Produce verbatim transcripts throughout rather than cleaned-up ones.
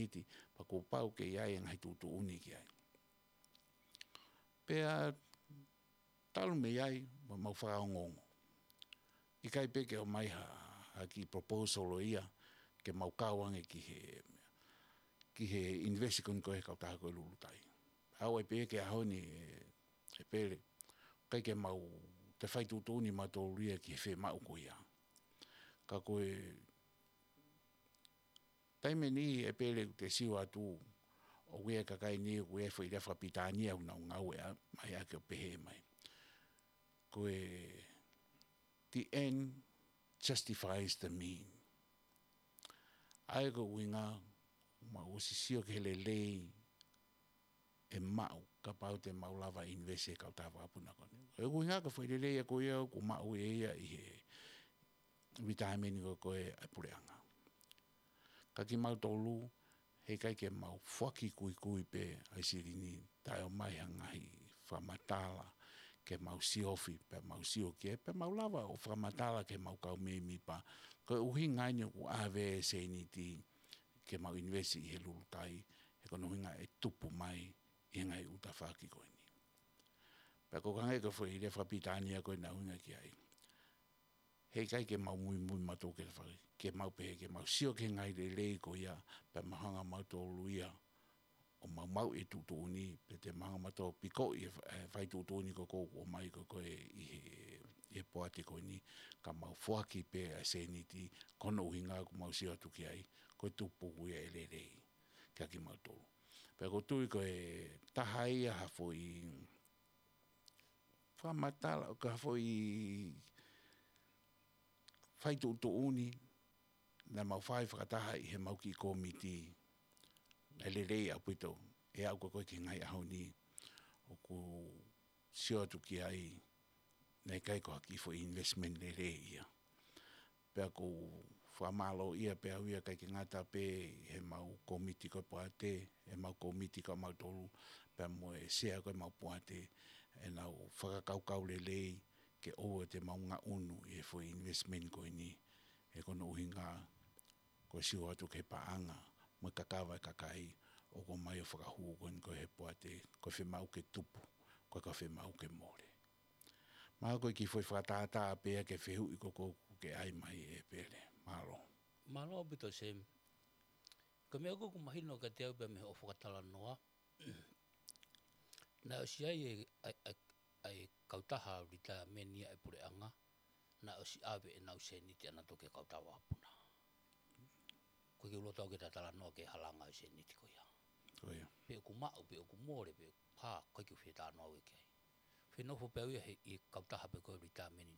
Seniti, pea kuo pau ke ʻi ai e ngaahi tuʻutuʻuni ki ai. Pea talu mei ai, mo mau fakaongoongo. ʻIkai pē ke ʻomai ha, ha kiʻi proposal ʻo ia, ke mau kau ange ki he, ki he invest ko eni ko e kautaha ko e Lulutai. ʻAu ai pē ki he ʻaho ni, ʻe, ʻe Pele, ʻikai ke mau toe fai tuʻutuʻuni mautolu ia ki he fiemaʻu ko ia. Ka ko e taimi ni ʻe Pele ʻoku te sio atu, ʻoku ʻi ai e kakai ni, ʻoku ʻi ai e foʻi lea fakapilitānia ʻoku nau ngāueʻaki mai ʻaki ʻo pehē mai. Ko e the end justifies the mean. ʻA ia ko e ʻuhinga, mau ʻosi sio ki he lelei ʻe maʻu, kapau te mau lava invest he kautaha vakapuna ko eni. Ko e ʻuhinga ko e foʻi lelei ia ko ia, ʻoku maʻu ʻe ia ʻi he retirement ko ē ʻa e puleʻanga. Ka kimautolu, heʻikai ke mau foaki kuikui pē ʻa e silini, taʻeʻomai ha ngaahi fakamatala, ke mau siofi, pea mau sio ki ai, pea mau lava ʻo fakamatala ki he mau kau mēmipa. Ko e ʻuhinga eni ʻoku ʻave e seniti, ke mau invest ʻi he Lulutai, he ko hono ʻuhinga ʻe tupu mai ʻi he ngaahi ʻū tafaʻaki ko eni. Pea ko e hangē ko e foʻi lea fakapilitānia ko ē naʻe ʻuhinga ki ai. Heʻikai ke mau muimui mautolu ke fai, ke mau pehē, ke mau sio ki he ngaahi lelei ko ia, pea mau hanga mautolu ia, ʻo mau maʻu e tuʻutuʻuni, pe te mau hanga mautolu pikoʻi e fa-, e fai tuʻutuʻuni ko ē ʻoku ʻomai ko ē ʻi he, ʻi he poate ko eni, ka mau foaki pē ʻa e seniti, ko hono ʻuhinga ʻoku mau sio atu ki ai, ko e tupu ia e lelei, kia kimautolu. Pea ʻoku ou tui ko e taha ia ha foʻi fakamatala, ʻo ka foʻi fai tuʻutuʻuni, naʻa mau fai fakataha ʻi he mau kiʻi kōmiti, naʻe lelei ʻaupito, ʻe aʻu ko ē ki he ngaahi ʻaho ni, ʻoku sio atu ki ai, naʻe ʻikai ko ha kiʻi foʻi investment lelei ia. Pea ʻoku ou fakamālōʻia pē au ia ʻikai ke ngata pē he mau kōmiti ko ē poate, he mau kōmiti ko ē mautolu, pea mo e sea ko ē mau poate, ʻenau fakakaukau lelei ke ʻoua te mau ngaʻunu ʻi he foʻi investment ko eni, he ko hono ʻuhinga, ko e sio atu ki he paʻanga, mo e kakava e kakai, ʻoku ʻomai ʻo fakahū ko eni ko ē he poate, ko e fiemaʻu ke tupu, ʻikai ko e fiemaʻu ke mole. Mahalo ko e kiʻi foʻi fakatātā pē ia ki he fehuʻi ko ē ʻoku ke ʻai mai ʻe Pele. Mālō. Mālō ʻaupito Sam. Ko e meʻa ʻoku mahino kiate au pea mei hoʻo fakatalanoa. Naʻe ʻosi ʻi ai e, ʻa e, ʻa e, ʻa e kautaha retirement ia ʻa e puleʻanga. Naʻe ʻosi ʻave ʻenau seniti ʻanautolu ki he kautaha vakapuna. ʻOku ʻikai ke u loto au ke ta talanoa ki he halanga e seniti ko ia. Ko ia. Pe ʻoku maʻu, pe ʻoku mole, pe ʻoku hā, ʻikai ke u fie talanoa au ki ai. Fie nofo pē au ia he, ʻi he kautaha pē ko e retirement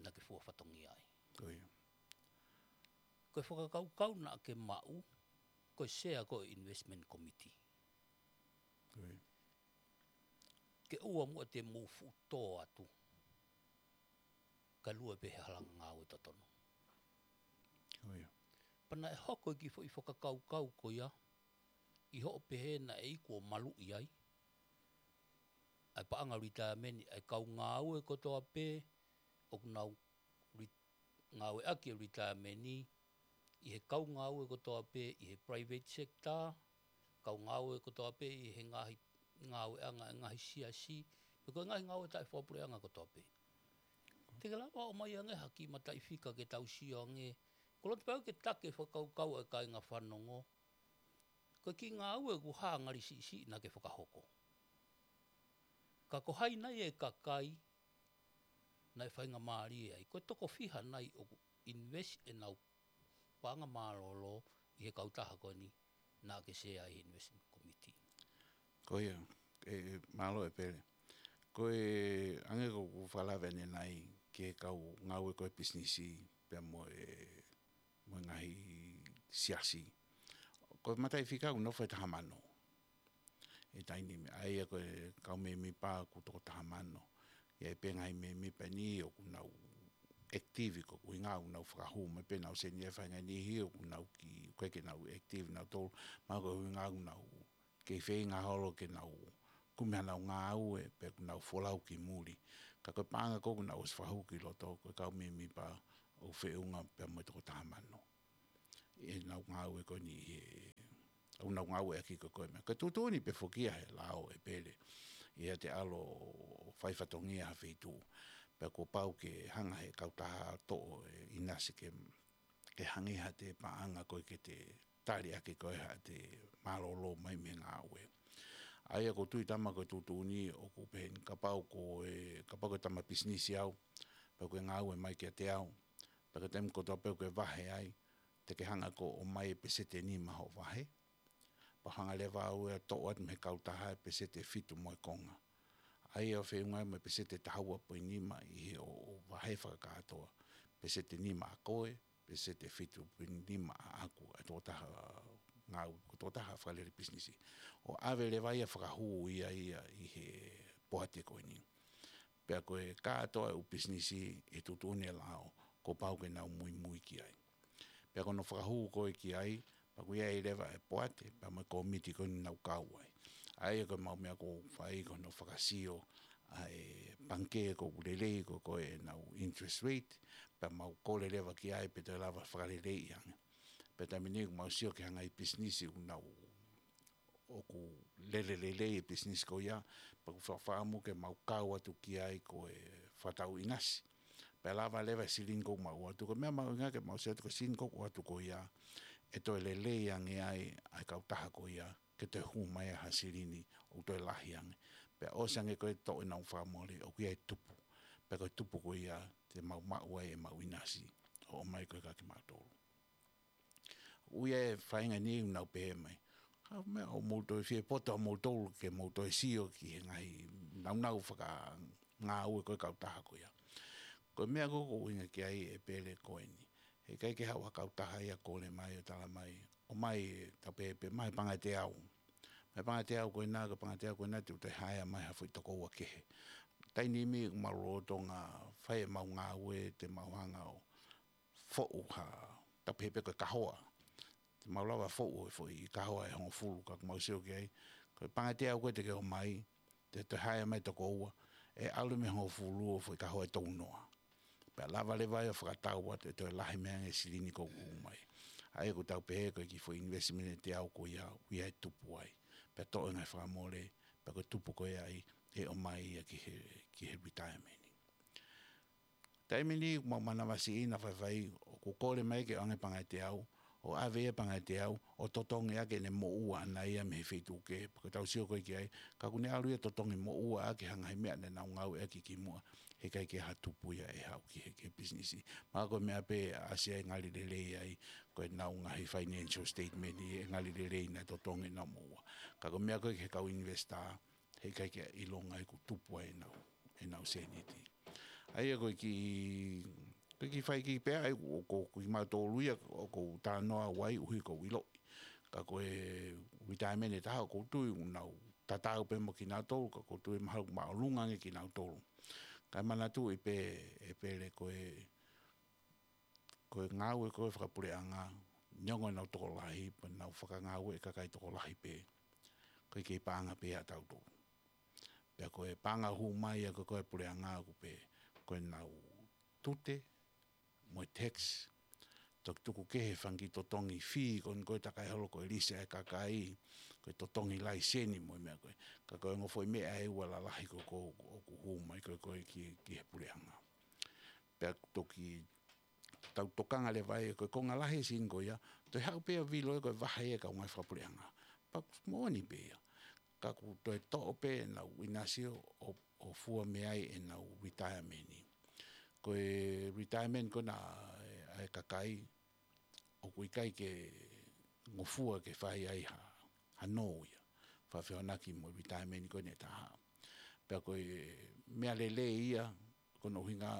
naʻa ke fua fatongia ai. Ko ia. Ko e fakakaukau naʻa ke maʻu, ko e sea ko ē investment committee. Ko ia. Ke ʻoua muʻa te mou fuʻu tō atu. Ka lue pē he halanga ngāue totonu. Ko ia. Pea naʻe hoko e kiʻi foʻi fakakaukau ko ia, ʻi hoʻo pehē naʻe iku ʻo maluʻi ai ʻa e paʻanga retirement, ʻa e kau ngāue kotoa pē, ʻoku nau re-, ngāueʻaki e retirement, ʻi he kau ngāue kotoa pē, ʻi he private sector, kau ngāue kotoa pē, ʻi he ngaahi, ngāueʻanga, ngaahi siasi, pe ko e ngaahi ngāue taʻefakapuleʻanga kotoa pē. Te ke lava ʻo ʻomai ange ha kiʻi mataʻifika ke tau sio ange, ʻoku ou loto pē au ke take fakakaukau ʻa e kāinga fanongo, ko e kiʻi ngāue ʻoku hā ngali siʻisiʻi naʻa ke fakahoko. Ka ko hai nai e kakai naʻe faingamālie ai. Ko e toko fiha nai ʻoku invest ʻenau paʻanga mālōlō ʻi he kautaha ko eni naʻa ke sea ai he investment committee. Ko ia, ʻe, ʻe, mālō ʻe Pele. Ko e ʻange ko ʻeku fakalave ʻanenai ki he kau ngāue ko ē pisinisi, pea mo e mo e ngaahi siasi. Ko e mataʻifika ʻoku nofo he taha mano. ʻE taimi ni, ʻa ia ko e kau mēmipa ʻoku toko taha mano. ʻI ai pē ngaahi mēmipa ni ʻoku nau active ko e ʻuhinga ʻoku nau fakahū mai pē ʻenau seni e fainga ni hi ʻoku nau ki, ʻikai ke nau active nautolu. Mahalo ko e ʻuhinga ʻoku nau kei feinga holo ke nau kumi hanau ngāue pe ʻoku nau folau ki muli. Ka ko e paʻanga ko ē ʻoku nau ʻosi fakahū ki loto ko e kau mēmipa ʻoku feʻunga pea mo e toko taha mano. ʻEnau ngāue ko eni he ʻoku nau ngāueʻaki ko ē ko e meʻa. Ko e tuʻutuʻuni pē foki ia he lao ʻEpele, ʻi heʻete ʻalu ʻo fai fatongia ha feituʻu, pea kuo pau ke hanga he kautaha toʻo e ʻinasi ke, ke hangē haʻate paʻanga ko ē ke te tali ʻaki ko ē haʻate mālōlō mai mei he ngāue. ʻA ia ʻoku ou tui, tama, ko e tuʻutuʻuni ʻoku pehē ni, kapau ko e, kapau ko e tama pisinisi au, pea ko e ngāue mai kiate au, pea ko e taimi kotoa pē ʻoku ke vahe ai, te ke hanga ʻo ʻomai e peseti ʻe nima hoʻo vahe, pea hanga leva au ia ʻo toʻo atu mei he kautaha e peseti ʻe fitu mo e konga. ʻA ia ʻoku feʻunga mo e peseti ʻe taha ua poini nima ʻi he ʻo, ʻo vahe fakakātoa, peseti ʻe nima ʻa koe, peseti ʻe fitu poini nima ʻaʻaku, ʻa e tokotaha ngāue, ko e tokotaha fakalele pisinisi. ʻO ʻave leva ia ʻo fakahū ia ia ʻi he poate ko eni. Pea ko e kātoa e ʻū pisinisi ʻi he tuʻutuʻuni e lao, kuo pau ke nau muimui ki ai. Pea ko hono fakahū ko ē ki ai, pea ʻoku ʻi ai leva e poate, pea mo e kōmiti ko eni ʻoku nau kau ai. ʻA ia ko ʻemau meʻa ʻoku fai ko hono fakasio ʻa e pangikē ʻoku lelei ko ē ʻenau interest rate, pea mau kole leva ki ai pe toe lava fakaleleiʻi ange. Pea taimi ni ʻoku mau sio ki he ngaahi pisinisi ʻoku nau, ʻoku lele lelei e pisinisi ko ia, pea ʻoku fakaʻamu ke mau kau atu ki ai ko e fakatau ʻinasi. Pea lava leva e silini ʻoku mau ʻoatu, ko e meʻa mahuʻinga ke mau sio atu ko e silini ʻoku ʻoatu ko ia, ʻe toe lelei ange ai ʻa e kautaha ko ia, ke toe hū mai ha silini ʻoku toe lahi ange. Pea ʻosi ange ko ē toʻo ʻenau fakamole, ʻoku ʻi ai e tupu. Pea ko e tupu ko ia te mau maʻu ai ʻemau ʻinasi, ʻo ʻomai ko ē kia kimautolu. ʻOku ʻi ai e faʻahinga ni ʻoku nau pehē mai, ka ko e meʻa ʻoku mou toe fie poto ʻa moutolu ke mou toe sio ki he ngaahi nāunau fakangāue ko ē ʻa e kautaha ko ia. Ko e meʻa ko ē ʻoku ou ʻuhinga ki ai, ʻEpele, ko eni. Heʻikai ke haʻu ha kautaha ia ʻo kole mai ʻo tala mai, ʻomai, tau pehē pē, ʻomai e pangikē ʻe teau. ʻOmai e pangikē ʻe teau ko ena, ko e pangikē ʻe teau ko ena te u toe haea mai ha foʻi tokoua kehe. Taimi ni ʻoku mau lolotonga fai ʻemau ngāue, te mau hanga ʻo foʻu ha, tau pehē pē ko e kahoa. Te mau lava foʻu e foʻi kahoa ʻe hongofulu, ka ʻoku mau sio ki ai, ko e pangikē ʻe teau ko ē te ke ʻomai, te u toe haea mai tokoua, ʻe ʻalu mei he hongofulu ʻo foʻi kahoa ʻe tolunoa. Pea lava leva ia ʻo fakatau atu ʻe toe lahi mei ai ange e silini ʻoku hū mai. ʻA ia ʻoku tau pehē ko e kiʻi foʻi investment ʻe teau ko ia, ʻoku ʻi ai e tupu ai. Pea toʻo e ngaahi fakamole, pea ko e tupu ko ia ai, ʻe ʻomai ia ki he, ki he retirement. Taimi ni ʻoku mau manavasiʻina faifai, ʻoku kole mai ke ʻoange pangikē ʻe teau, ʻo ʻave ia pangikē ʻe teau, ʻo totongi ʻaki ʻene moʻua ʻana ia mei he feituʻu kehe. Pea ko ʻetau sio ko ē ki ai, ka ʻoku ne ʻalu ia ʻo totongi moʻua ʻaki ha ngaahi meʻa naʻa nau ngāueʻaki kimuʻa, heʻikai ke ʻi ai ha tupu ia ʻe haʻu ki he, ki he pisinisi. Mahalo ko e meʻa pē ʻe ʻasi ai e ngali lelei ai, ko ʻenau ngaahi financial statement ʻi he ngali lelei naʻe totongi ʻenau moʻua. Ka ko e meʻa ko ē ki he kau investor, heʻikai ke ʻilonga ʻoku tupu ai ʻenau, ʻenau sēniti. ʻA ia ko e kiʻi, ko e kiʻi fai kiʻi pē ia ʻoku, ʻoku, ʻoku kimautolu ia ʻoku ou talanoa ai ʻuhi ʻoku ou ʻiloʻi. Ka ko e retirement ʻe taha ʻoku ou tui ʻoku nau tatau pē mo kinautolu, ka ʻoku ou tui mahalo ʻoku māʻolunga ange kinautolu. Kae manatuʻi pē, ʻEpele, ko e, ko e ngāue ko ē fakapuleʻanga, neongo ʻenau tokolahi, pea nau fakangāue e kakai tokolahi pē, ʻoku kei paʻanga pē ia ʻatautolu. Pea ko e paʻanga hū mai ia ko ē ʻa e puleʻanga ʻoku pē ko ʻenau tute mo e tax. Toki tuku kehe e fanga kiʻi totongi fee ko eni ko e takai holo ko e lisi ʻa e kakai, ko e totongi laiseni mo e meʻa ko ē. Ka ko e ongo foʻi meʻa ʻe ua lalahi ko ē ʻoku, ʻoku hū mai ko ē ko ē ki, ki he puleʻanga. Pea toki tau tokanga leva ai ko e konga lahi e silini ko ia, toe haʻu pē ʻo vilo ia ko e vahe ia ʻa e kau ngāue fakapuleʻanga. Pea ʻoku moʻoni pē ia. Ka ʻoku toe toʻo pē ʻenau ʻinasi ʻo, ʻo fua mei ai ʻenau retirement. Ko e retirement ko ena ʻa e kakai, ʻoku ʻikai ke ngofua ke fai ai ha, ha nō ia. Fakafehoanaki mo e retirement ko eni ʻe taha. Pea ko e meʻa lelei ia, ko hono ʻuhinga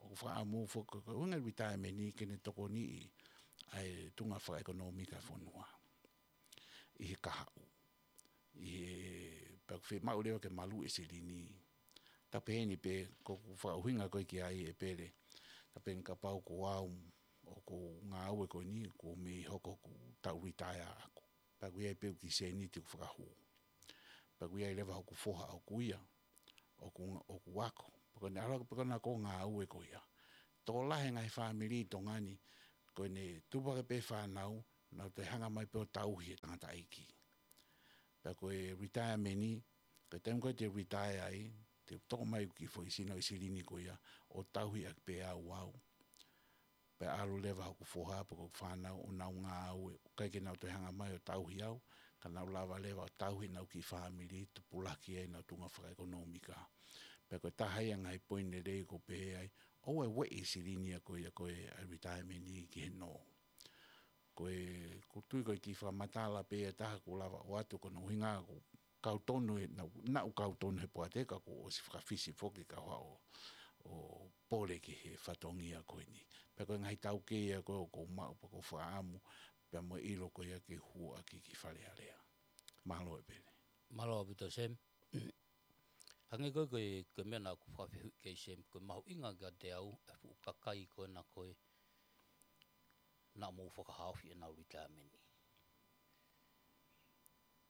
ʻoku fakaʻamu foki ko e ʻuhinga e retirement ke ne tokoniʻi ʻa e tuʻunga fakaʻekonōmika ʻo e fonua ʻi he kahaʻu. ʻI he, pea ʻoku fiemaʻu leva ke maluʻi e silini. Tau pehē ni pē, ko ʻeku fakaʻuhinga ko ē ki ai, ʻEpele. Tau pehē ni kapau ko au, ʻoku ou ngāue ko eni, kuo mei hoko hoku taʻu retire ʻaʻaku. Pea ʻoku ʻi ai pē ʻeku kiʻi sēniti ʻoku fakahū. Pea ʻoku ʻi ai leva hoku foha ʻoʻoku ia, ʻoku, ʻoku ako. Pea ko ʻene ʻalu ʻo, pea ko ʻene ako ngāue ko ia. Tokolahi e ngaahi fāmili ʻi Tonga ni, ko ʻene tupu hake pē fānau, Naʻa te hanga mai pē ʻo tauhi e tangataʻeiki. Pea ko e retirement, ko e taimi ko ē te retire ai, te toʻo mai ki he foʻi sino ʻi silini ko ia, ʻo tauhi ʻaki pē au au. Pea ʻalu leva hoku foha, pe ko e fānau, ʻo nau ngāue, ʻikai ke nau toe hanga mai ʻo tauhi au, ka nau lava leva ʻo tauhi ʻenau kiʻi fāmili, tupulaki ai ʻenau tuʻunga fakaʻekonōmika. Pea ko e taha ia e ngaahi poini lelei ʻoku pehē ai, ʻoua ʻe ueʻi e silini ia ko ia ko e retirement ki he nō. Ko e, ʻoku ou tui ko e kiʻi fakamatala pē ia ʻe taha ʻoku lava ʻo ʻoatu ko hono ʻuhinga ʻoku kau tonu ē, naʻa, naʻa ʻoku kau tonu he poate ka kuo ʻosi fakafisi foki ka hao ʻo pole ki he fatongia ko eni. Pea ko e ngaahi taukei ia ko ē ʻoku ou maʻu pea ʻoku ou fakaʻamu, pea mo e ʻilo ko ia ke hū ʻaki ki Fale Alea. Mālō ʻEpeli. Mālō ʻaupito Sem. Hangē ko e, ko e, ko e meʻa naʻa ku fakafehuʻi ki ai Sem, ko e mahuʻinga kiate au, e fuʻu kakai ko ena ko ē, naʻa mou fakahaofi ʻenau retirement.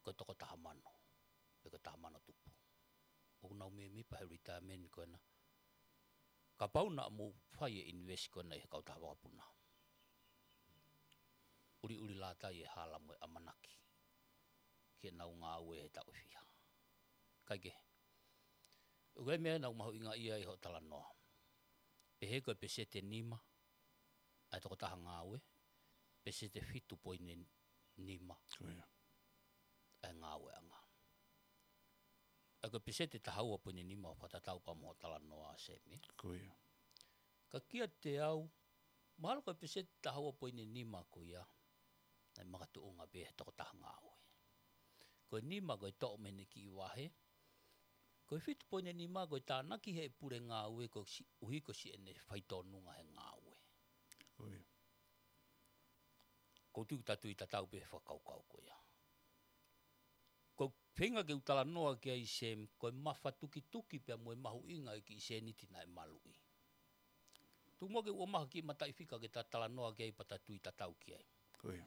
Ko e toko taha mano, pe ko e taha mano tupu. ʻOku nau mēmipa he retirement ko ena. Kapau naʻa mou fai e invest ko ena ʻi he kautaha vakapuna. ʻUliʻuli lātai e hala mo e ʻamanaki. Ke nau ngāue he taʻu ʻe fiha. Kae kehe. ʻOku ʻi ai e meʻa naʻa ku mahuʻingaʻia ai hoʻo talanoa. Pehē ko e peseti ʻe nima, ʻa e toko taha ngāue, peseti ʻe fitu poini nima. Ko ia. ʻA e ngāueʻanga. ʻA ia ko e peseti ʻe taha ua poini nima ʻoku fakatatau pea mo hoʻo talanoa Sem. Ko ia. Ka kiate au, mahalo ko e peseti ʻe taha ua poini nima ko ia, naʻe makatuʻunga pē he toko taha ngāue. Ko e nima ko e toʻo mei heʻene kiʻi vahe, ko e fitu poini nima ko e tānaki he pule ngāue koeʻuhi ko siʻene fai tōnunga he ngāue. Ko ia. ʻOku ou tui ʻoku ta tui tatau pē he fakakaukau ko ia. Ko e feinga ke u talanoa ki ai Sem, ko e mafatukituki pea mo e mahuʻinga e kiʻi sēniti naʻe maluʻi. Tuku muʻa ke u ʻomai ha kiʻi mataʻifika ke ta talanoa ki ai pea ta tui tatau ki ai. Ko ia.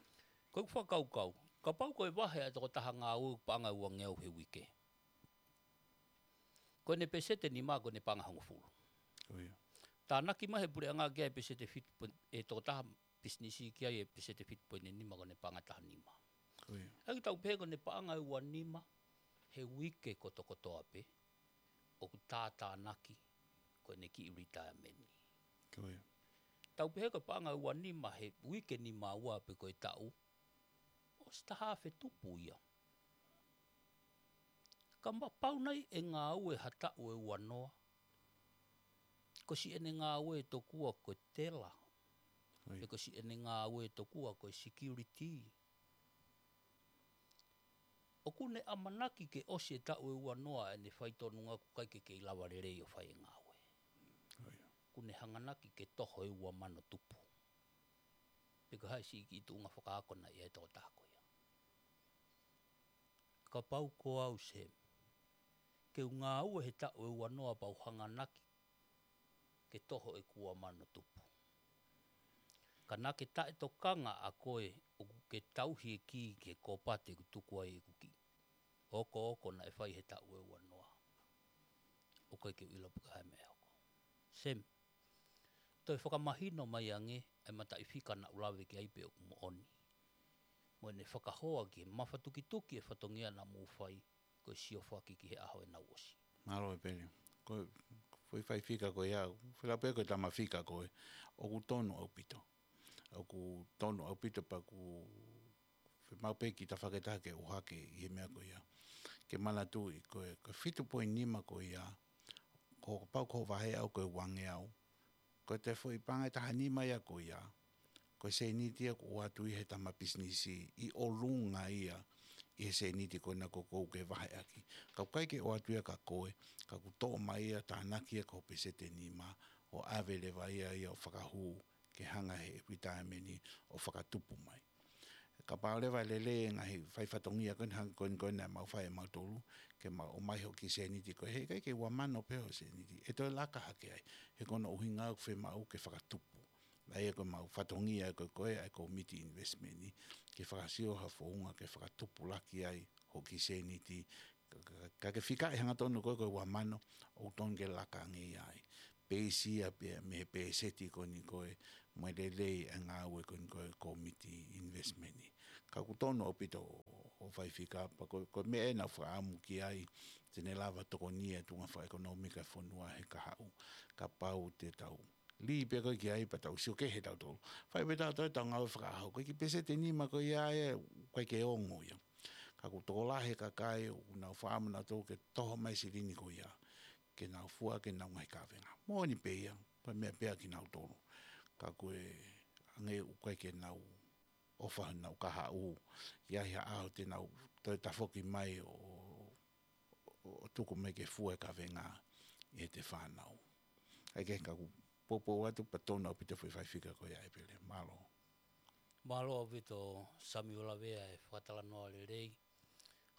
Ko ʻeku fakakaukau, kapau ko e vahe ʻa e toko taha ngāue ʻoku paʻanga ʻe uangeau he uike. Ko ʻene peseti ʻe nima ko ʻene paʻanga ʻe hongofulu. Ko ia. Tānaki mai he puleʻanga ki ai e peseti ʻe fitu poini, e toko taha pisinisi ki ai e peseti ʻe fitu poini nima ko ʻene paʻanga ʻe taha nima. Ko ia. ʻA ia ke tau pehē ko ʻene paʻanga ʻe ua nima he uike kotokotoa pē, ʻoku tātānaki ko ʻene kiʻi retirement. Ko ia. Tau pehē ko e paʻanga ʻe ua nima he uike nima ua pe ko e taʻu, ʻosi taha afe tupu ia. Kapau naʻe ngāue ha taʻu ʻe ua noa, ko siʻene ngāue tokua ko e tela, ʻIo. pe ko siʻene ngāue tokua ko e security. ʻOku ne ʻamanaki ke ʻosi e taʻu ʻe ua noa ʻene fai tōnunga ʻoku ʻikai ke kei lava lelei ʻo fai e ngāue. ʻIo. ʻOku ne hanganaki ke toho e ua mano tupu. Pe ko e hā e siʻi kiʻi tuʻunga fakaako naʻe ʻi ai e toko taha ko ia. Kapau ko au Sem, ke u ngāue he taʻu ʻe ua noa pea u hanganaki ke toho ʻeku ua mano tupu. Ka naʻa ke taʻetokanga ʻa koe ʻoku ke tauhi e kī ki he kōpate ʻoku tuku ai ʻeku kiʻi okooko naʻe fai he taʻu ʻe ua noa. ʻOku ʻikai ke u ʻilo pe ko e hā e meʻa ʻe hoko. Sem, toe fakamahino mai ange ʻa e mataʻifika naʻa ku lave ki ai pe ʻoku moʻoni. Mo ʻene fakahoa ki he mafatukituki e fatongia naʻa mou fai ko e siofaki ki he ʻaho ʻe nau ʻosi. Mālō ʻEpeli. Ko e foʻi fika ko ia, fela pē ko e tama fika ko ē, ʻoku tonu ʻaupito. ʻOku tonu ʻaupito pea ʻoku fiemaʻu pē ke ta fakataha ke ʻohake ʻi he meʻa ko ia. Ke manatuʻi ko e, ko e fitu poini nima ko ia, ko e pau ko e vahe ʻaʻau ko e uangeau. Ko e toe foʻi paʻanga ʻe taha nima ia ko ia, ko e sēniti ia ʻoku ʻoatu ʻe he tama pisinisi ʻi ʻolunga ia ʻi he sēniti ko ena ʻoku ou ke vaheʻaki. Ka ʻoku ʻikai ke ʻoatu ia kia koe, ka ʻoku toʻo mai ia tānaki ia ko e peseti ʻe nima ʻo ʻave leva ia ia ʻo fakahū ke hanga he retirement ʻo fakatupu mai. Kapau leva ʻe lelei e ngaahi fai fatongia ko eni hangē ko eni ko eni naʻa mau fai ʻe mautolu, ke mau ʻomai hoʻo kiʻi sēniti ko ē, he ʻikai ke ua mano pē hoʻo sēniti, ʻe toe laka hake ai. He ko hono ʻuhinga ʻoku fiemaʻu ke fakatupu. ʻA ia ko ʻemau fatongia ko ē ko ē ʻa e kōmiti investment ni, ke fakasio ha founga ke fakatupulaki ai hoʻo kiʻi sēniti, ka, ka, ka ke fikaʻi hangatonu ko ē ko e ua mano, ʻoku tonu ke laka ange ia ai. peisi ia pea mei he pēseti ko eni ko ē mo e lelei ʻa e ngāue ko eni ko ē ʻa e kōmiti investment. Ka ʻoku tonu ʻaupito ʻo, ʻo fai fika pea ko, ko e meʻa ē naʻa ku fakaʻamu ki ai te ne lava tokoni e tuʻunga fakaʻekonōmika ʻo e fonua he kahaʻu. Kapau te tau lī pē ko ē ki ai pea tau sio kehe tautolu. Fai pē tautolu ʻetau ngāue fakaʻaho. Ko e kiʻi pēseti ʻe nima ko ia ē, ʻoku ʻikai ke ongo ia. Ka ʻoku tokolahi e kakai ʻoku nau fakaʻamu nautolu ke toho mai e silini ko ia ke nau fua ʻaki ʻenau ngaahi kavenga. Moʻoni pē ia, ko e meʻa pē ia kinautolu. Ka ko e ʻange ʻoku ʻikai ke nau ʻofa honau kahaʻu, ʻi ai ha ʻaho te nau toe tafoki mai ʻo, ʻo, ʻo tuku mai ke fua e kavenga ʻi heʻete fānau. ʻA ia ke ka ʻoku poupou atu pea tonu ʻaupito e foʻi fai fika ko ia ʻEpeli. Mālō. Mālō ʻaupito Samiuela Vea e fakatalanoa lelei.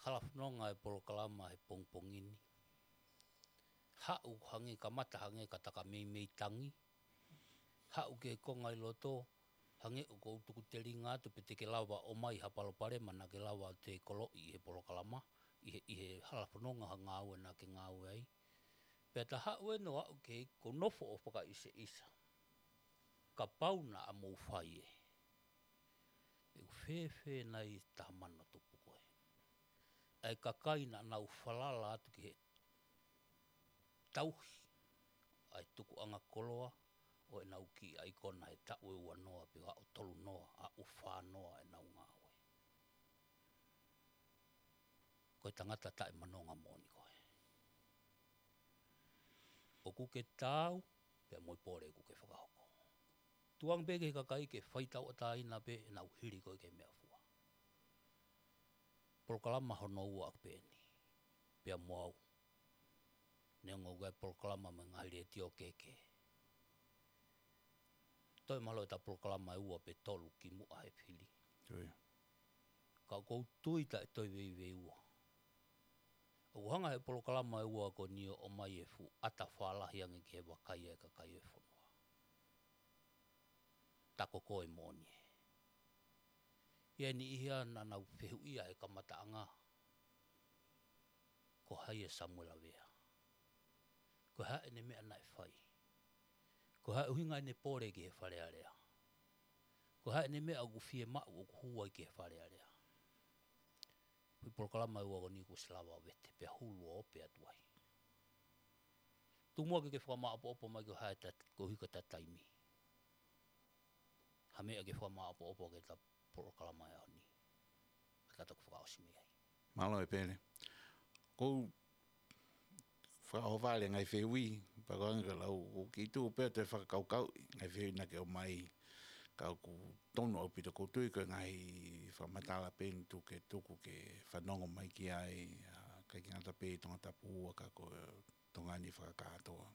Hala fononga e polokalama he pongipongi ni. Haʻu hangē, kamata hangē ka ta ka meimei tangi. Haʻu ki he konga ʻi loto, hangē ʻoku ou tuku telinga atu pe te ke lava ʻo ʻomai ha palopalema naʻa ke lava ʻo toe koloʻi he polokalama, ʻi he, ʻi he hala fononga ha ngāue naʻa ke ngāue ai. Pea ta haʻu ē ʻo aʻu ki he ʻoku ou nofo ʻo fakaʻiseʻisa. Kapau naʻa mou fai ē, ʻe ʻoku fēfē nai e taha mano tupu ko ē? ʻA e kakai naʻa nau falala atu ki he tauhi ʻa e tukuʻanga koloa ʻo ʻenau kiʻi ʻaikona he taʻu ʻe ua noa pe ʻe tolu noa, ʻa ʻe fā noa ʻenau ngāue. Ko e tangata taʻemanonga moʻoni koe. ʻOku ke taau, pea mo e pole ʻoku ke fakahoko. Tukuange pē ki he kakai ke fai tauʻatāina pē ʻenau hili koe ki he meʻafua. Polokalama hono ua ʻaku pē eni. Pea mo au. Neongo ʻoku ʻi ai e polokalama mo e ngaahi letiō kehekehe. Toe mahalo ʻeta polokalama ʻe ua pe tolu kimuʻa he fili. Ui. Ka ʻoku ou tui taʻe toe veiveiua. ʻOku hanga he polokalama ʻe ua ko eni ʻo ʻomai e fuʻu ʻata fālahi ange ki he vakai ʻa e kakai ʻo e fonua. Tako koe moʻoni ē. ʻI ai e niʻihi ia naʻa nau fehuʻia he kamataʻanga. Ko hai ʻa Samuela Vea? Ko e hā ʻene meʻa naʻe fai? Ko e hā e ʻuhinga ʻene pole ki he Fale Alea? Ko e hā ʻene meʻa ʻoku fiemaʻu ʻoku hū ai ki he Fale Alea? Ko e polokalama ʻe ua ko eni kuo ʻosi lava ʻo vete pea hulu ʻo ope atu ai. Tuku muʻa ke ke fakamāʻopoʻopo mai ko e hā e tat-, koeʻuhi ko ʻeta taimi. Ha meʻa ke fakamāʻopoʻopo ki heʻeta polokalama ʻo e ʻaho ni. Ka ta toki fakaʻosi mei ai. Mālō ʻEpeli. Ko e fakaʻohovale e ngaahi fehuʻi, pea ko e anga ko e lau, ʻoku ou kiʻi tuʻu pē ʻo toe fakakaukauʻi e ngaahi fehuʻi naʻa ke ʻomai, ka ʻoku tonu ʻaupito, ʻoku ou tui ko e ngaahi fakamatala pē eni ʻoku ke tuku ke fanongo mai ki ai, ʻa, ʻikai ke ngata pē ʻi Tongatapu ua ka ko Tonga ni fakakātoa.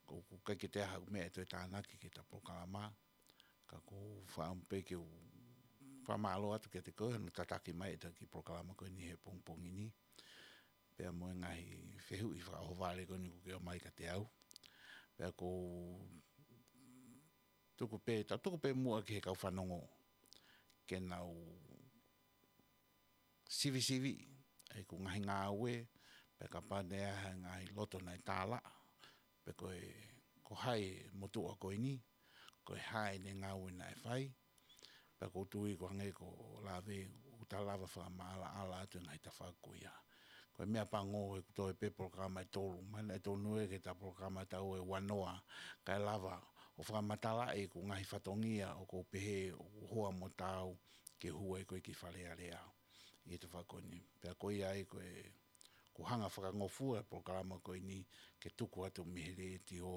ʻOku ʻikai ke toe ʻi ai haʻaku meʻa ʻe toe tānaki ki heʻeta polokalama, ka ʻoku ou fakaʻamu pē ke u fakamālō atu kiate koe hono tataki mai ʻeta kiʻi polokalama ko eni he pongipongi ni. Pea mo e ngaahi fehuʻi fakaʻohovale ko eni ʻoku ke ʻomai kiate au. Pea ʻoku ou tuku pē, tau tuku pē muʻa ki he kau fanongo ke nau sivisiviʻi ʻeku ngaahi ngāue, pea kapau naʻe ʻi ai ha ngaahi loto naʻe tālaʻa, pe ko e, ko hai e motuʻa ko eni, ko e hā ʻene ngāue naʻe fai, pea ʻoku ou tui ko e hangē ko Lave, ʻoku ta lava fakamaʻalaʻala atu e ngaahi tafaʻaki ko ia. Ko e meʻa pango ʻeku toe pē polokalama ʻe tolu, mahalo ʻe tonu ē ki heʻeta polokalama tau ʻe ua noa, kae lava ʻo fakamatalaʻi ʻeku ngaahi fatongia ʻoku ou pehē ʻoku hoa mo taau ke hū ai koe ki Fale Alea ʻi he tafaʻaki ko eni. Pea ko ia ai ko e, ʻoku hanga fakangofua e polokalama ko eni ke tuku atu mei he letiō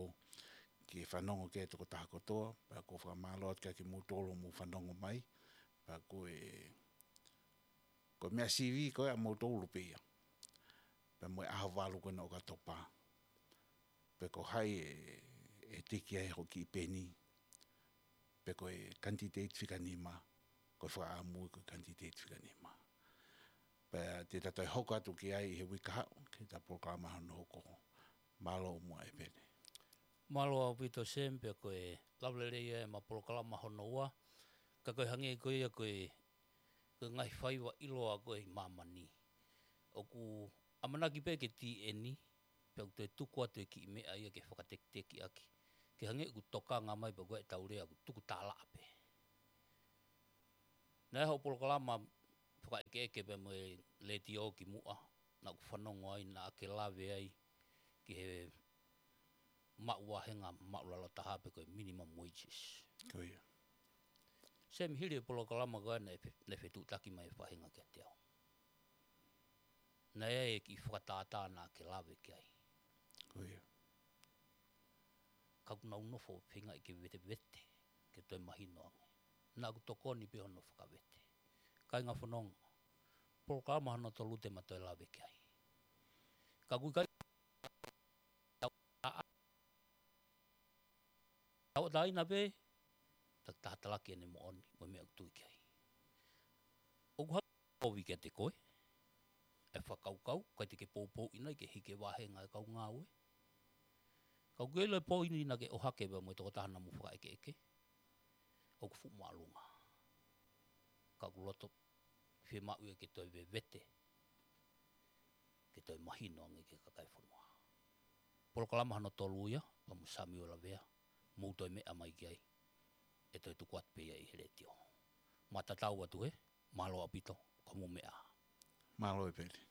ke fanongo ki ai e tokotaha kotoa, pea ʻoku ou fakamālō atu kiate kimoutolu hoʻomou fanongo mai, pea ko e, ko e meʻa sivi ko ē ʻamoutolu pē ia. Pea mo e ʻaho valu ko ena ʻo ʻOkatopa. Pe ko hai ʻe, ʻe tiki ai hoʻo kiʻi peni. Pe ko e kanititeiti fika nima, ko e fakaʻamu ko e kanititeiti fika nima. Pea te ta toe hoko atu ki ai ʻi he uike kahaʻu, ki heʻeta polokalama hono hoko. Mālō muʻa ʻEpeli. Mālō ʻaupito Sam, pea ko e lava lelei ē ʻema polokalama hono ua. Ka ko e hangē ko ia ko e, ko e ngaahi faiva ʻiloa ko ē ʻi māmani. ʻOku ʻamanaki pē ke tī eni, pe ʻOku toe tuku atu e kiʻi meʻa ia ke fakatekitekiʻaki. Ke hangē ʻoku tokanga mai pē ko e tau lea ʻoku tuku tālaʻa pē. Naʻe ʻi ai hoʻo polokalama fakaʻekeʻeke pea mo e letiō kimuʻa, naʻá ku fanongo ai naʻá ke lave ai ki he maʻu vāhenga maʻulalo taha pe ko e minimum wages. Ko ia. Semi, hili e polokalama ko ē naʻe fe-, naʻe fetuʻutaki mai e faʻahinga kiate au. Naʻe ʻi ai e kiʻi fakatātā naʻá ke lave ki ai. Ko ia. Ka ʻoku nau nofo ʻo feingaʻi ke vetevete, ke toe mahino ange. Naʻá ku tokoni pē hono fakavete. Kāinga fononga, polokalama hono tolu te ma toe lave ki ai. Ka ʻoku ʻikai tau ʻa-, tauʻatāina pē, ta-, taha talaki ʻene moʻoni, mo e meʻa ʻoku tui ki ai. ʻOku hā kovi kiate koe, e fakakaukau, ʻikai te ke poupouʻi nai ke hiki e vāhenga e kau ngāue. Ka ʻoku ʻi ai e poini naʻá ke ʻohake pea mo e tokotaha naʻa mou fakaʻekeʻeke, ʻoku fuʻu māʻolunga. Ka ʻoku loto fiemaʻu ia ke toe vevete, ke toe mahino ange ki he kakai e fonua. Polokalama hono tolu ia, pea mo Samiuela Vea, mou toe meʻa mai ki ai, ʻe toe tuku atu pē ia ʻi he letiō. Ma tatau atu he, mālō ʻaupito, ka mou meʻa. Mālō e peli.